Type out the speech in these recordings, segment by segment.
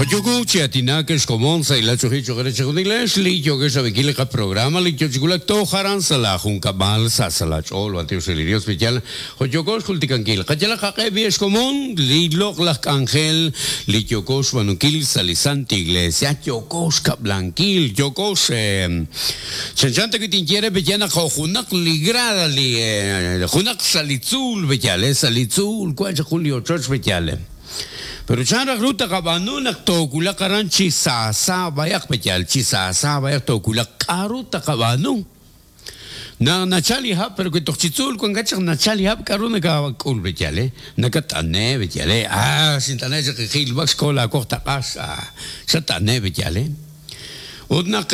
Joyoku chi aatinak ex komon sa' ila choxi choq' re chejunilex li yookex rab'inkil li qaprograma li yo chi wulak toj aran sa' laa junkab'al sa' sa' laa ch'ool b'antiox re li Dios pe yal jo' yooko xjultikankil qayalaq qaq'e b'i ex komon li loq'laj k'anjel li yooko xb'aanunkil sa' li Santa Iglesia yooko xkab'lankil yooko Chanchan ta wi' tinye re pe yaal naq jo' junaq li grada li junaq sa' li tzuul pe yaal, sa' li tzuul wan chaq jun li ochoch pe yaal. Pero chan raj ru taqab'aanu naq toowulaq aran chi saasa b'ayaq pe yaal, chi saasa b'ayaq toowulaq, k'a'ru taqab'aanu? Naq nachal li hab', pero wi toj chi tzuul wankat chaq nachal li hab' k'a'ru nakak'ul pe yaal, nakat'ane' pe yaal, ah xint'ane' chaq jilb'ak xko laawoq taq'a, ah xat'ane' pe yaal. Ut naq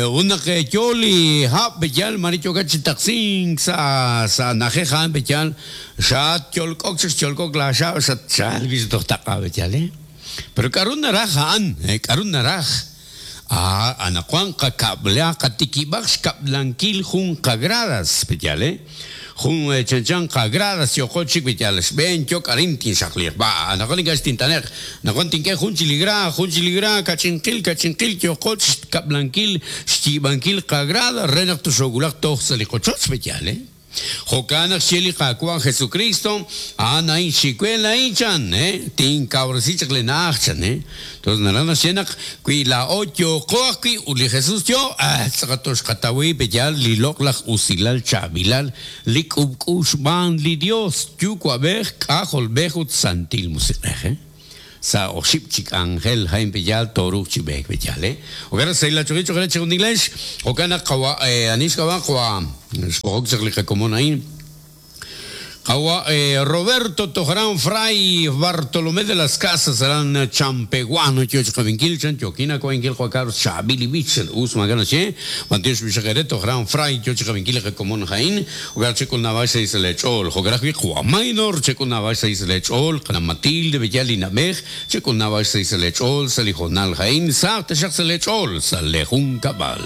ut naq yo li hab' b'eyal mare yookat chi taqsink sa' sa' na'ajej a'an b'eyal xatyolk'ok chaq xyolk'ok laaxab' xatchalk wi' toj taq'a b'eyal eh. Pero k'a'ru naraj a'an k'a'ru naraj ah anaqwan qakab'la qatikib'aq xkab'lankil jun qagradas b'eyal eh. Jun chanchan qagradas yooqo chik wi' yal xb'een yok arin tinxaqliiq. B'a, anaqwan ink'a' xtint'ane'q. Anaqwan tink'e jun chi li gra, jun chi li gra, kach'inqil, kach'inqil yooqo chixkab'lankil, xyiib'ankil qagrada re naq toxoowulaq toj sa' li qochoch, pe' yaal, eh? Jo'kan naq xye li Qaawa' Jesukristo, A'an a'in xiwe laa'in, chan, eh? Tinkawresi chaq li na'aj, chan, eh? Entonces naraj naxye naq wi laa'o yooqo ajwi' ut li Jesús yoo, ah, tz'aqal toxqataw wi' pe'yaal li loq'laj usilal chaab'ilal li k'ub'k'u xb'aan li Dios, Yuwa'b'ej, K'ajolb'ej ut Santil Musiq'ej, eh? Sa' oxib' chi k'anjel a'in pe'yaal tooruuq chi b'eek pe'yaal, eh? Jo'kan naq sahil achoqil cho'q re chejunilex, jo'kan naq qawa' ani xk'ab'a' qawa' xb'oqok chaq li qakomon a'in. Qawa' Roberto Tojran Fray Bartolomé de las Casas aran Champeguano yo chi qab'inkil chan yookin awa'inkil Juan Carlos chaab'il li b'ich chan us maak'a' naxye b'antiox b'ixaq eere Tojran Fray yo chi qab'inkil li qakomon a'in jo'kan naq chek'ul naab'al xsahil sa' lee ch'ool jo'kan ajwi' Qawa' Maynor chek'ul naab'al xsahil sa' lee ch'ool Qana' Matilde Bellal li na'b'ej chek'ul naab'al xsahil sa' lee ch'ool sa' li hoonal a'in sahaq taxaq sa' lee ch'ool sa' lee junkab'al.